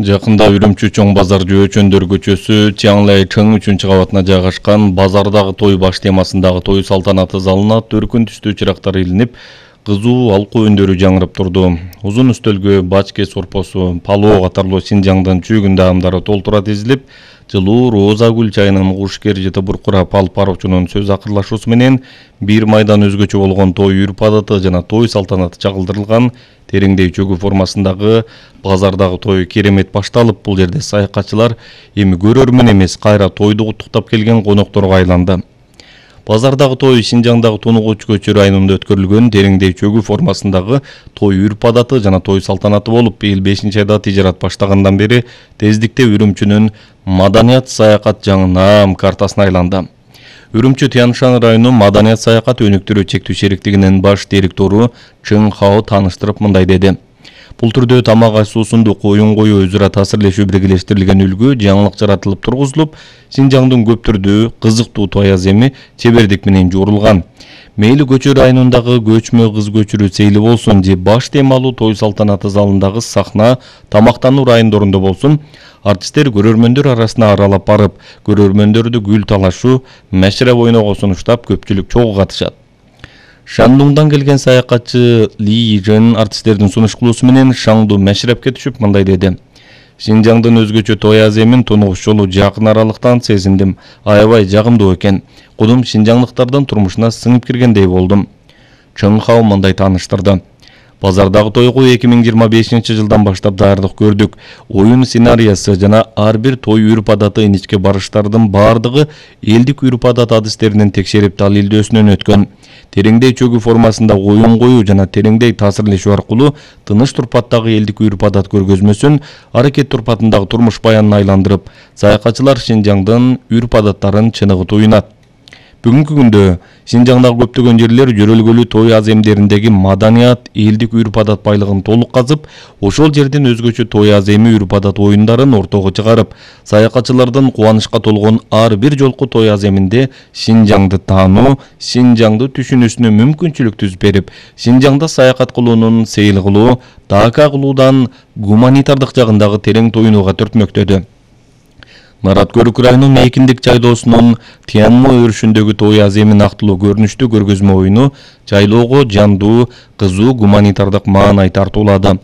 Жакында Үрүмчү чоң базар Жөөчөндөр көчөсү Чаңлай Чың 3-кабатына жайгашкан базардагы той баш темасындагы той салтанаты залына төркүн түстүү чырактар илинип, кызуу алкуу үндөрү жаңырып турду. Узун үстөлгө бачке сорпосу, палоо катарлуу Синжаңдын чүйгүн даамдары толтура тизилип, жылуу роза гүл чайынын кушкер жыты буркурап алып баруучунун сөз акырлашуусу менен бир майдан өзгөчө болгон той үрп адаты жана той салтанаты чагылдырылган тереңдей чөгү формасындагы базардагы той керемет башталып, бул жерде саякатчылар эми көрөрмөн эмес, кайра тойду куттуктап келген конокторго айланды. Базардагы той Синжаңдагы Тунугуч көчө районунда өткөрүлгөн тереңдей чөгү формасындагы той үрп адаты жана той салтанаты болуп, быйыл 5-айда тижарат баштагандан бери тездикте Үрүмчүнүн маданият саякат жаңы картасына айланды. Үрүмчү Тянь-Шань району маданият саякат өнүктүрүү чектүү шериктигинин баш директору Чың Хао таныштырып мындай деди. Бул түрдө тамак аш-суусундук оюн коюу өзүрө таасирлешүү биргелештирилген үлгү жаңылык жаратылып тургузулуп, Синжаңдын көп түрдүү кызыктуу той аземи чебердик менен жуурулган. Мейли көчө районундагы көчмө кыз көчүрүү сейли болсун же баш темалуу той салтанаты залындагы сахна, тамактануу райондорунда болсун, артисттер көрөрмөндөр арасына аралап барып, көрөрмөндөрдү гүл талашуу, мәшреп ойноого сунуштап, көпчүлүк чогуу катышат. Шандуңдан келген саякатчы Ли Жен артисттердин сунуштуусу менен Шаңду мәшрепке түшүп мындай деди. Синжаңдын өзгөчө той аземин тунугуш жолу жакын аралыктан сезиндим. Аябай жагымдуу экен. Кудум синжаңдыктардын турмушуна сыңып киргендей болдум. Чың Хао мындай тааныштырды. Базардагы тойго 2025-жылдан баштап даярдык көрдүк. Оюн сценарийси жана ар бир той үрп адаты иничке барыштардын бардыгы элдик үрп адат адистеринин текшерип далилдөөсүнөн өткөн. Тереңдей чөгү формасында оюн коюу жана тереңдей таасирлешүү аркылуу тыныч турпаттагы элдик үрп адат көргөзмөсүн аракет турпатындагы турмуш баянына айландырып, саякатчылар Синжаңдын үрп адаттарын чыныгы туйнат. Бүгүнкү күндө Синжаңдагы көптөгөн жерлер жөрөлгөлүү той аземдериндеги маданият, элдик үрп адат байлыгын толук казып, ошол жерден өзгөчө той аземи үрп адат оюндарын ортого чыгарып, саякатчылардын кубанычка толгон ар бир жолку той аземинде Синжаңды таануу, Синжаңды түшүнүүсүнө мүмкүнчүлүк түзүп берип, Синжаңда саякат кылуунун сейил кылуу, дака кылуудан гуманитардык жагындагы терең тоюнууга түртмөктөдү. Нарат Көрүк районунун Мейкиндик жайлоосунун Тяньмо өрүшүндөгү той аземи нактылуу көрүнүштүү көргөзмө оюну жайлоого жандуу, кызуу гуманитардык маанай тартуулады.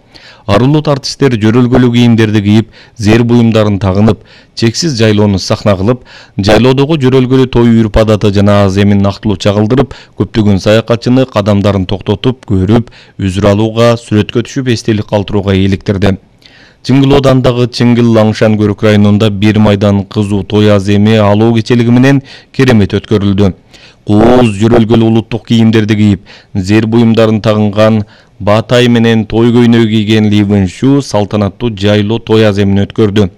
Арулут артисттер жөрөлгөлүү кийимдерди кийип, зер буюмдарын тагынып, чексиз жайлоону сахна кылып, жайлоодогу жөрөлгөлүү той үрп адаты жана аземин нактылуу чагылдырып, көптөгөн саякатчыны кадамдарын токтотуп, көрүп, үзүр алууга, сүрөткө түшүп эстелик калтырууга eeliktirди. Чыңгылоодандагы Чыңгыл Лаңшан Көрүк районунда бир майдан кызуу той аземи алуу кечелиги менен керемет өткөрүлдү. Кооз жөрөлгөлүү улуттук кийимдерди кийип, зер буюмдарын тагынган Баатай менен той көйнөгү кийген Ли Вэншу салтанаттуу жайлоо той аземин өткөрдү.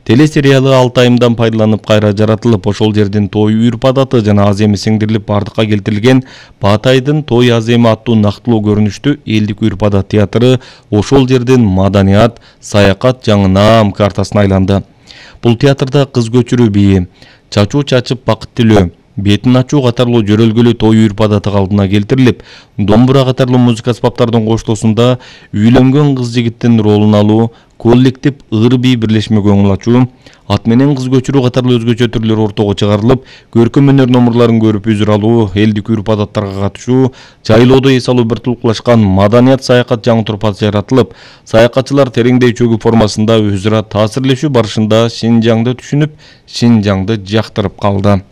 Телесериалы 6 айымдан пайдаланып кайра жаратылып, ошол жердин той үрп адаты жана аземи сиңдирилип бардыкка келтирилген Баатайдын той аземи аттуу нактылуу көрүнүштүү элдик үрп адат театры ошол жердин маданият, саякат жаңы картасына айланды. Бул театрда кыз көчүрүү бийи, чачуу чачып бакыт тилөө, бетин ачуу катарлуу жөрөлгөлүү той үрп адаты калдына келтирилип, домбура катарлуу музыка аспаптардын коштоосунда үйлөнгөн кыз жигиттин ролун алуу, коллектив ыр-бий бирлешмеге оңулачуу, ат менен кыз көчүрүү катарлуу өзгөчө түрлөр ортого чыгарылып, көркөм өнөр номурларын көрүп үзүр алуу, элдик үрп адаттарга катышуу, жайлоодо эс алуу бир тулкулашкан маданият саякат жаңы турпат жаратылып, саякатчылар тереңдей чөгү формасында өзүрө таасирлешүү барышында Синжаңды түшүнүп, Синжаңды жактырып калды.